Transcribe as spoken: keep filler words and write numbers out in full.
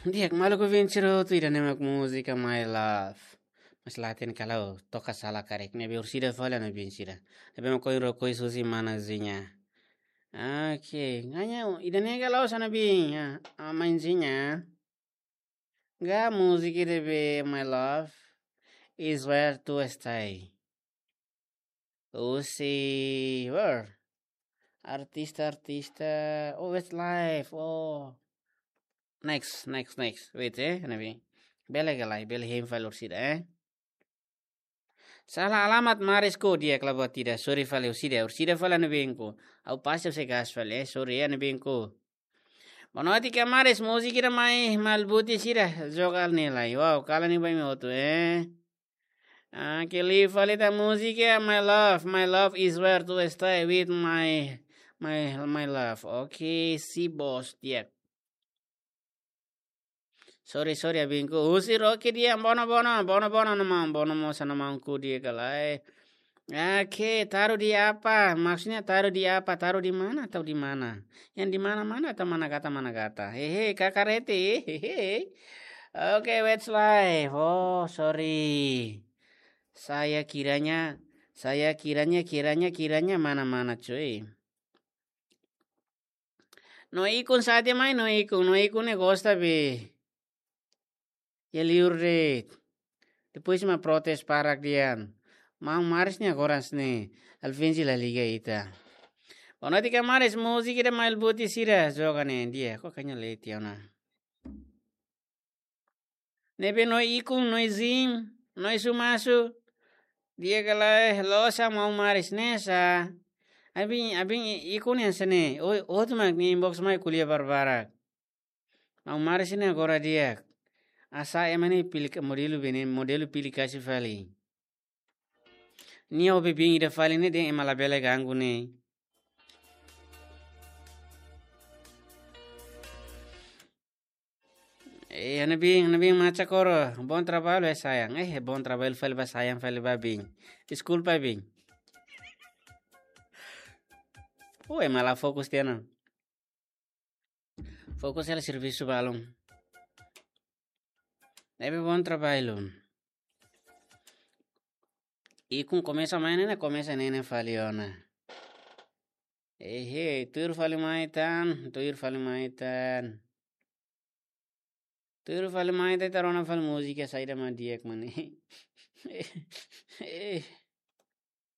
Di'ak, maluk ouvinte sira hotu, ida-ne'e mak múzika My Love. Mas la hatene kalau toka sala karik, ne'ebé orsida fali, ne'ebé orsida. Ne'ebé mak ohin rokoi husi mana Zinha. Oke, hanya ida-ne'e kalau sana bin, ya, ah, main Zinha. Ga múzika ida be My Love is where to stay. Husi, where? Artista, artista. Oh, Westlife. Oh. Next, next, next. Wait, eh, ne'ebé. Bele ka lae, bele hein fali orsida, eh. Sala alamat Maris ko di'ak, la buat ida. Sorry fali orsida, orsida fali ne'ebé ko. Ha'u pasa se gas fali, eh. Sorry, eh, ne'ebé ko. Bonoite ka Maris, múzika ida mai malbuti sira joga ne'e lai. Wow, kalan ne'e ba imi hotu, eh. Ah, ke li fali tan múzika My Love, My Love is where to stay with my, my, my love. Oke, si bos di'ak. Sorry, sorry, abinku. Husi Rocky dia, bono, bono, bono, bono, no mau, bono, mau sana mau ku dia kalai. Oke, taruh di apa? Maksudnya taruh di apa? Taruh di mana atau di mana? Yang di mana-mana atau mana kata, mana kata? Hehe, kakarete, hehe. Oke, Westlife. Oh, sorry. Saya kiranya, saya kiranya, kiranya, kiranya mana-mana, cuy. No ikun saja mai, no ikun, no ikun ne'e gosta be. Ya liur de'it. Depois mak protes barak dehan. Maun Maris ne'e agora ne'e. Alvinci la liga ita. Bonoite ka Maris, múzika ida mai malbuti sira joga ne'e dia. Ko kanya leti ona. Ne'ebé no ikun, no izin, no isu masu. Dia kalai losa maun Maris ne'e sá. Abin, abin ikun yang sene. Oi, hotu mak ne'e inbox mai ko'alia barbarak. Maun Maris ne'e agora di'ak. Asa ema ne'e pilih modelu be ne'e, modelu pilih kasih fali. Nia obi bin ida fali ne'e dehan ema labele ganggu ne'e. Eh, ne'ebé, ne'ebé macha koro. Bom trabalho, eh, sayang. Eh, bom trabalho fali ba sayang fali ba bin. Deskulpa bin. Oi, ema la fokus tiha ona. Fokus hela servisu balun. Ne'ebé bom trabalho. Ikun komesa mai ne'e, komesa ne'e fali ona. Ehe, tuir fali mai tan, tuir fali mai tan. Tuir fali mai tan, ita rona fali múzika saida mak di'ak mak ne'e. Eh.